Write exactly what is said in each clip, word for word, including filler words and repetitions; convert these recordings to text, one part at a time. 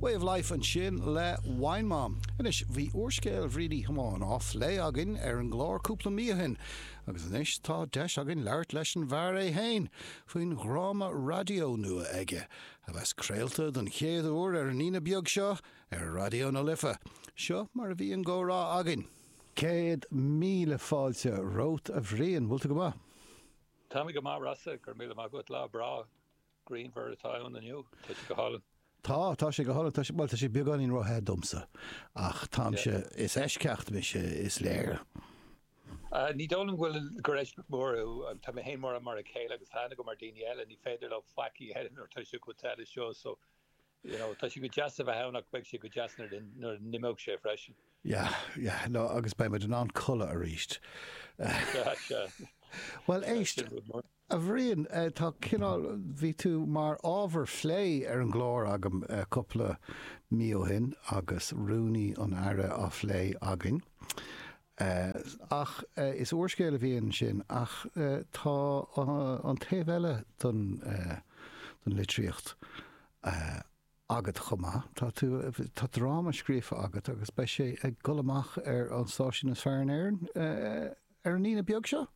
Way of Life ansin le Wine Mom. Anois bhí úrscéal Bhriain Uí Thiomáin á phlé againn ar an gclár cúpla mí ó shin, agus anois tá deis againn labhairt leis an bhfear é féin faoin dhráma raidió nua aige, a bheas craolta don chéad uair ar an Aoine beag seo ar Raidió na Life. Seo mar a bhí an comhrá againn. Céad míle fáilte romhat a Bhriain, bhfuil tú go maith? Tá mé go maith Rossa, go raibh míle maith agat lá breá grianmhar atá ann inniu, tá sé go hálainn. Tá, tá sé go hálainn, tá sé, bhuel tá sé beagáinín róthe domsa, ach táimse, is eisceacht mise is léir. Uh, ní dóigh liom go bhfuil gur eisceacht mór thú, tá mé féin mar mar a chéile agus tá go mar daoine eile, ní féidir leo faic a dhéanamh nuair tá sé chomh te seo, so you know, tá sé go deas a bheith ann ach beidh sé go deas nuair nuair a n-imeoidh sé freisin. Yeah, yeah, no, agus beidh muid in ann codladh arís. Sea, sea. Well éist, a Bhriain, tá cineál, bhí tú mar ábhar plé ar an gclár agam cúpla mí ó shin agus rúnaí an Aire á phlé againn. Ach is úrscéal a bhí ansin ach tá an taobh eile don don litríocht agat chomh maith. Tá tú tá dráma scríofa agat agus beidh sé ag dul amach ar an stáisiún is fearr in Éirinn ar an Aoine beag seo?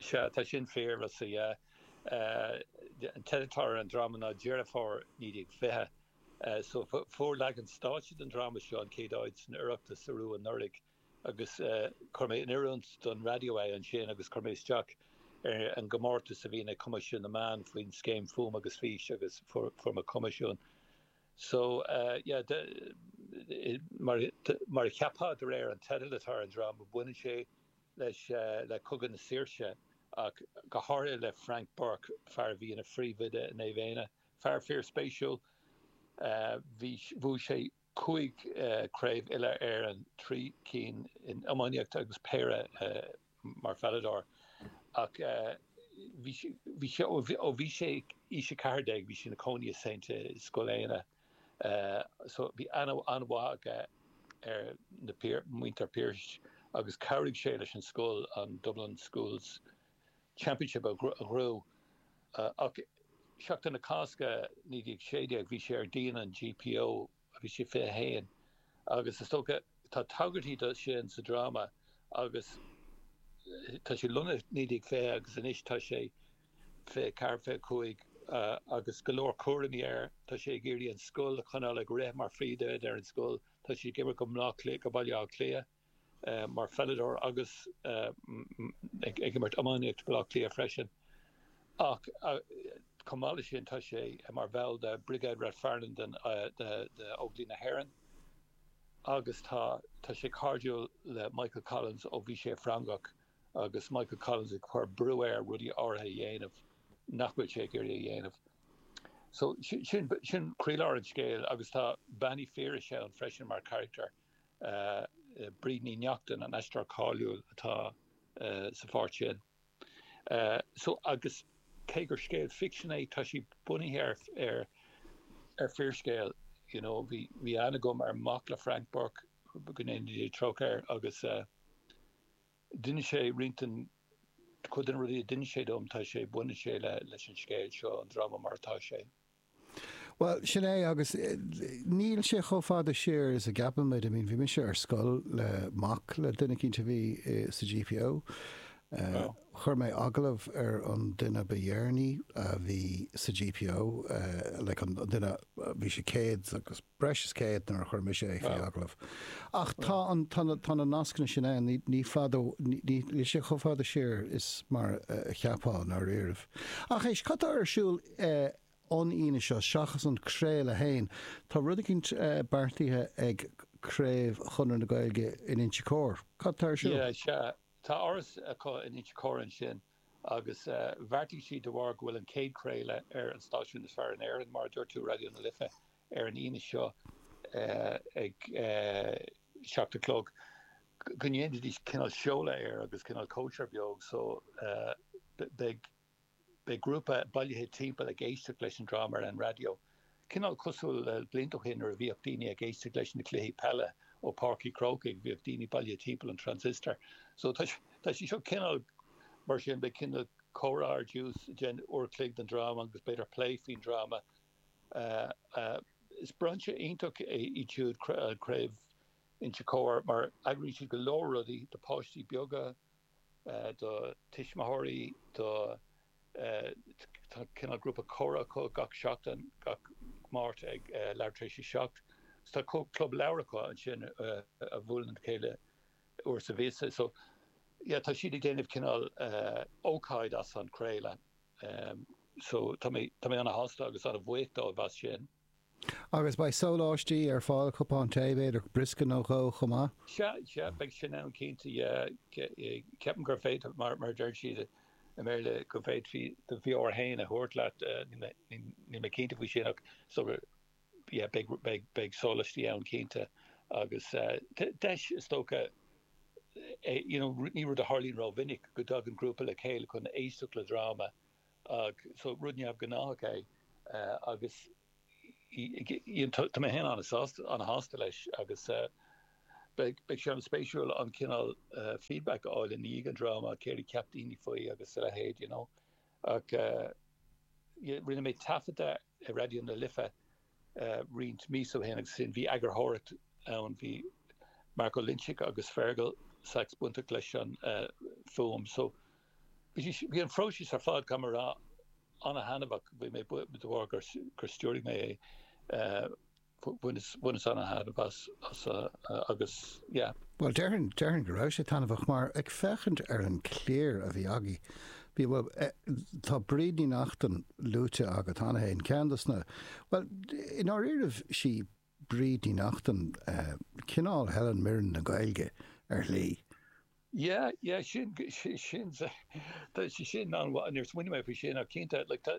Sea, tá sin fíor, Rossa, yeah. An teideal atá ar an dráma ná Deireadh Fómhair naoi déag fiche. So fuair leagan stáitse den dráma seo an chéad áit san Oireachtas arú anuraidh agus chuir mé in oiriúint don raidió é ansin agus chuir mé isteach ar an gcomórtas a bhíonn ag Coimisiún na Meán faoin scéim Fuaim agus Fís agus fuair mé coimisiún. So yeah, mar mar a cheapfá de réir an teidil atá ar an dráma, baineann sé leis le Cogadh na Saoirse ach go háirithe le Frank Burke, fear a bhí ina phríomhoide i Naomh Éanna. Fear fíorspéisiúil. Bhí bhuaigh sé cúig craobh uile Éireann, trí cinn in iománaíocht agus péire mar pheileadóir. Ach bhí bhí sé ó bhí sé aois a ceathair déag bhí sé ina chónaí i Saint Scoil Éanna. So bhí aithne an-mhaith aige ar na muintir Pearse agus chabhraigh sé leis an scoil an Dublin Schools Championship a ghnóthú. Ach Seachtain na Cásca naoi déag sé déag bhí sé ar dhíon an GPO bhí sé fiche a haon agus is dócha tá tagairtí do sin sa dráma agus tá sé lonnaithe naoi déag fiche agus anois tá sé fiche ceathair fiche cúig agus go leor cúraimí air. Tá sé ag iarraidh an scoil a choinneáil ag rith mar phríomhoide ar an scoil. Tá sé ag imirt go Bleá Cliath go Baile Átha Cliath mar pheileadóir agus ag imirt iománaíocht Baile Átha Cliath freisin. Ach chomh maith leis sin tá sé mar bhall de Brigade Rathfarnham den Óglaigh na hÉireann agus tá tá sé cairdiúil le Michael Collins ó bhí sé Freangach agus Michael Collins ag cur brú air rudaí áirithe a dhéanamh nach bhfuil sé ag iarraidh a dhéanamh. So sin sin croílár an scéil agus tá Bean Uí Phiarais ann freisin mar charachtar uh, Bríd Ní Neachtain an aisteoir cáiliúil atá uh, sa pháirt sin. Uh, so agus cé gur scéal ficsin é tá sé bunaithe ar ar ar fíorscéal you know bhí bhí aithne agam ar mac le Frank Burke go ndéana Dia trócaire air agus uh, d'inis sé roinnt den cuid de na rudaí a d'inis sé dom tá sé baineann sé le leis an scéal seo an dráma mar atá sé. Well sin é agus níl sé chomh fada siar is a gceapann muid, I mean bhí mise ar scoil le mac le duine eicínt a bhí sa GPO. Uh, chuir mé agallamh ar an duine ba dheireanaí a bhí sa GPO uh, like an duine bhí sé céad agus breis is céad nuair a chuir mise é faoi agallamh. Ach tá an tá na tá na nascanna sin ann ní ní fada níl sé chomh fada siar is mar a cheapfá dáiríribh. Ach éist cad tá ar siúl uh, an Aoine seo seachas an craoladh féin, Tá rud eicínt uh, beartaithe ag Craobh Chonradh na Gaeilge in Inse Chór. Cad tá ar siúl? Yeah, sea. Tá áras acu in Inse Chór ansin agus uh, bheartaigh siad de bharr go bhfuil an chéad chraoladh ar an stáisiún is fearr in Éirinn mar a dúirt tú Raidió na Life ar an Aoine seo uh, ag uh, seacht a chlog go ndéanfaidís cineál seoladh air agus cineál cóisir beag so uh, beidh beidh grúpa bailithe timpeall ag éisteacht leis an dráma ar an raidió. Cineál cosúil le blianta ó shin nuair a bhíodh daoine ag éisteacht leis na cluichí peile ó Páirc an Chrócaigh, bhíodh daoine bailithe timpeall an transistor. So tá tá sé seo cineál mar sin beidh cineál comhrá ar dtús den uair chloig den dráma agus b'fhéidir plé faoin dráma uh, uh, is brainse iontach é iad siúd, Craobh Inse Chór, mar eagraíonn siad go leor rudaí do pháistí beaga, do tuismitheoirí, do tá cineál grúpa comhrá acu gach seachtain, gach Máirt ag leathuair tar éis a seacht. So tá club leabhar acu ansin a bhuaileann le chéile uair sa mhíosa. So yeah, tá siad ag déanamh cineál ócáid as an craoladh. So tá mé tá mé ana-shásta agus ana-bhuíoch dóibh as sin. Agus beidh sóláistí ar fáil, cupán tae, b'fhéidir briosca nó dhó chomh maith? Sea, sea, beidh sin ann cinnte, yeah. Ceapaim gur féidir, mar mar a deir siad i mBéarla, go bhféadfaí do bheoir féin a thabhairt leat, níl mé cinnte faoi sin ach so yeah, beidh beidh beidh sóláistí ann cinnte agus deis is dócha é, you know, ní rud a tharlaíonn rómhinic go dtagann grúpa le chéile chun éisteacht le dráma ach so rud neamhghnách é agus tá mé féin an-sásta an-shásta leis agus beidh beidh sé an-spéisiúil an cineál feedback a fháil i ndiaidh an dráma, céard a cheap daoine faoi agus a leithéid, you know. Ach rinne mé taifead de i Raidió na Life roinnt míosa ó shin agus sin bhí eagarthóireacht ann, bhí Mark Ó Loinsigh agus Fergal Sachs bainteach leis an fuaim. So bhí an phróiseas ar fad, caithfidh mé a rá, an-thaitneamhach. Bhí mé de bharr gur gur stiúraigh mé é, bhaineas bhaineas an-thaitneamh as as agus yeah. Bhuel, déarfainn déarfainn go raibh sé taitneamhach mar ag féachaint ar an cliar a bhí agaibh, bhí, bhuel, tá Bríd Ní Neachtain luaite agat cheana féin, ceann dos na, bhuel, i ndáiríribh sí Bríd Ní Neachtain cineál Helen Mirren na Gaeilge ar shlí. Yeah, yeah, sin, sin, tá sé sin an-mhaith, níor smaoinigh mé faoi sin ach cinnte, like tá,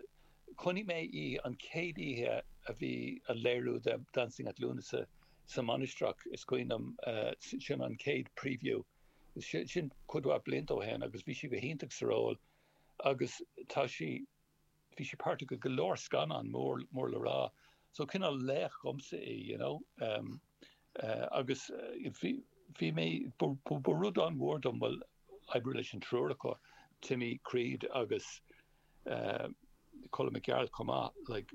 chonaic mé í an chéad oíche a bhí an léiriú de Dancing at Lughnasa sa Mainistreach, is cuimhin liom, sin an chéad preview, sin cuid mhaith blianta ó shin agus bhí sí go hiontach sa ról agus tá sí, bhí sí páirteach i go leor scannán mór, mór le rá. So cineál laoch dhomsa í, you know. Um, uh, agus bhí, bhí mé, ba rud an-mhór dom bhuel oibriú leis an triúr acu, Timmy Creed agus uh, Colm Mac Gearailt chomh maith, like,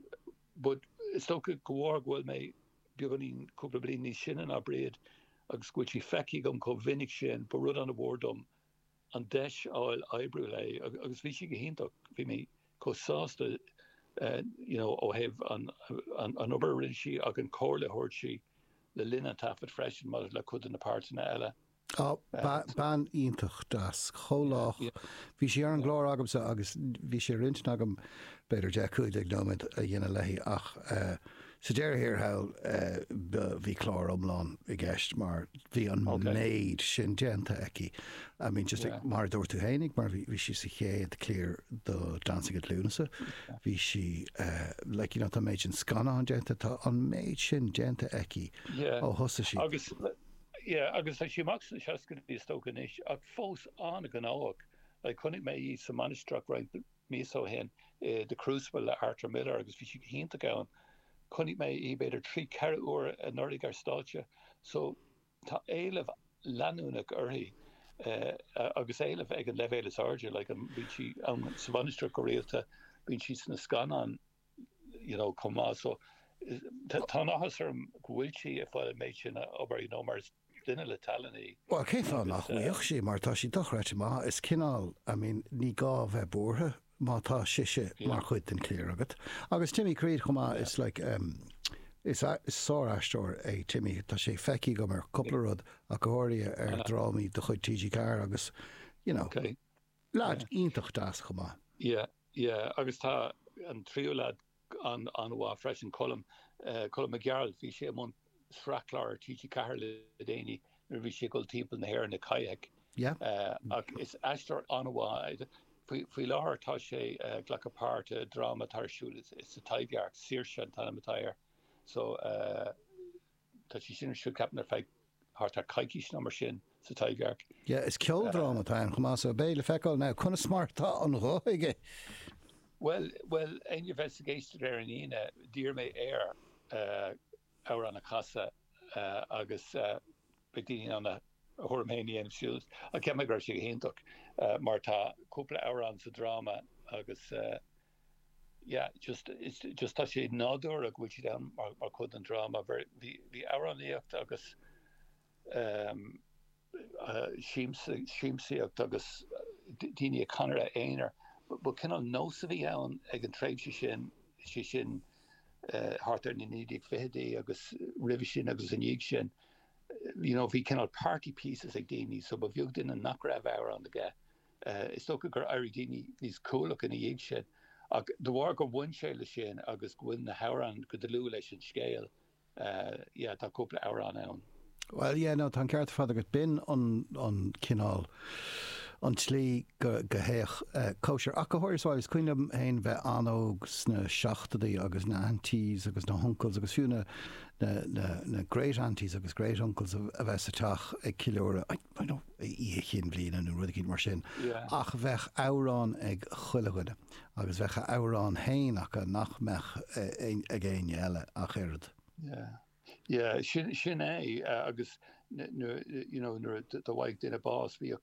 but is dócha go bhfuil go bhfuil mé beagáinín cúpla bliain níos sine ná Bríd agus go bhfuil sí feicthe agam chomh minic sin, ba rud an-mhór dom an deis a fháil oibriú léi agus bhí sí go hiontach, bhí mé chomh sásta you know ó thaobh an an obair a rinne sí ach an comhairle a thabhairt sí le linn an taifead freisin maidir le cuid de na páirteanna eile. Á, bean iontach deas, chomh lách. Bhí sí ar an gclár agamsa agus bhí sé ar intinn agam b'fhéidir deich, cúig déag nóiméad a dhéanamh léi ach sa deireadh thiar thall bhí clár iomlán i gceist mar bhí an méid sin déanta aici. I mean just mar a dúirt tú fhéinig, mar bhí sí sa chéad cliar do Dancing at Lughnasa, bhí sí like you know tá an méid sin scannán déanta, tá an méid sin déanta aici ó thosaigh sí. Agus yeah agus tá sí amach sna seascaidí is dócha anois ach fós an-ghnóthach. Like chonaic mé í sa Mainistreach roinnt míosa ó shin i The Crucible le Arthur Miller agus bhí sí go hiontach ann. Chonaic mé í b'fhéidir trí ceithre huair anuraidh ar stáitse so tá éileamh leanúnach uirthi agus éileamh ag an leibhéal is airde, like bíonn sí ann sa Mhainistreach go rialta, bíonn sí sna scannáin you know chomh maith so tá an áthas orm go bhfuil sí ag fáil an méid sin obair you know mar is duine le tallann í. Bhuel, cén fáth nach bhfaigheadh sí mar tá sí dochreidte maith, is cineál, I mean ní gá bheith buartha má tá sise mar chuid den chliar agat. Agus Timmy Creed chomh maith, is like um, is, is sár-aisteoir é Timmy, tá sé feicthe agam ar cúpla rud ach go háirithe ar drámaí de chuid TG Ceathair agus you know, okay. Lad iontach deas chomh maith. Yeah, yeah, agus tá an tríú lad an an-mhaith freisin Colm, uh, Colm Mac Gearailt, bhí sé i mbun sraith clár ar TG Ceathair le déanaí nuair a bhí sé ag dul timpeall na hÉireann ag kayak. Yeah. Uh, ach is aisteoir an-mhaith faoi, faoi láthair tá sé uh, glacadh páirt i dráma atá ar siúl sa Taibhdhearc, Saoirse an t-ainm atá air. So uh, tá sé sin ar siúl ceapaim ar feadh thart ar coicís nó mar sin sa Taibhdhearc. Yeah, is ceoldráma atá ann chomh maith so beidh le feiceáil now conas mar atá an ghuth aige. Well, well, éinne a bheas ag éisteacht ar an Aoine, d'iarr mé air uh, amhrán a chasadh uh, agus uh, beidh daoine in ann a thuairim féin a dhéanamh siúd. Ach cheap mé go raibh sé go hiontach uh, mar tá cúpla amhrán sa dráma agus uh, yeah, just it's just tá sé nádúrtha go bhfuil siad ann mar mar chuid den dráma. Bhí bhí amhránaíocht agus um, uh, siamsaíocht agus daoine ag canadh aonair. Ba cineál nós a bhí ann ag an tréimhse sin sé sin uh, thart ar na naoi déag fichidí agus roimhe sin agus ina dhiaidh sin. You know, bhí cineál party pieces ag daoine, so ba bheag duine nach raibh amhrán aige. Uh, is dócha gur éirigh daoine níos cúthalaí ina dhiaidh sin. Ach de bharr gur bhain sé le sin agus go bhfuil na hamhráin go dlúth leis an scéal, uh, yeah, tá cúpla amhrán ann. Well, yeah, no, tá an ceart fada agat b'in an, an cineál an tslí go, go théadh uh, cóisir. Ach go háirithe is cuimhin liom féin bheith an-óg sna seachtóidí agus na aunties agus na uncles agus fiú na, na, na, na great aunties agus great uncles a, a bheith sa teach ag ceiliúradh Oíche Chinn Bliana nó rud mar sin. Yeah. Ach bheadh amhrán ag chuile dhuine agus bheadh a amhrán féin acu nach mbeadh ag éinne eile ach oiread. Yeah. Yeah, sin sin é uh, agus you know nuair a bhí duine bás bhí a